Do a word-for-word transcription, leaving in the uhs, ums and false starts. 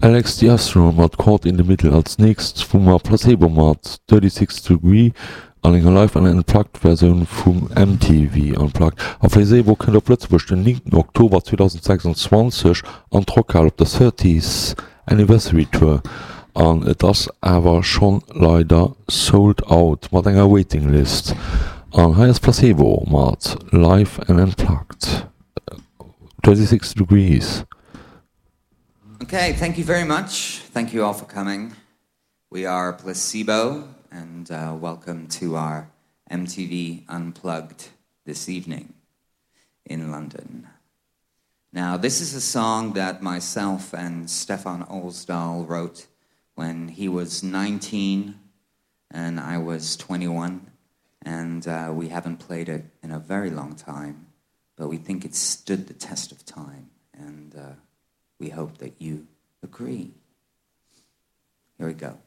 Alex the Astronaut mat Caught in the Middle. Als nächst hu mer Placebo mat Thirty Six Degree an enger Live an Unplugged Versioun vum MTV Unplugged. A Placebo kënnt op Lëtzebuerg den néngten Oktober zweedausendsechsundzwanzeg an d'Rockhal op der Thirtieth Anniversary Tour an et ass awer schonn leider sold out mat enger Waiting List. An hei ass Placebo mat Live and Unplugged Thirty Six Degrees. Okay, thank you very much. Thank you all for coming. We are Placebo, and uh, welcome to our MTV Unplugged this evening in London. Now, this is a song that myself and Stefan Olsdal wrote when he was nineteen and I was twenty-one, and uh, we haven't played it in a very long time, but we think it stood the test of time, and uh, we hope that you agree. Here we go.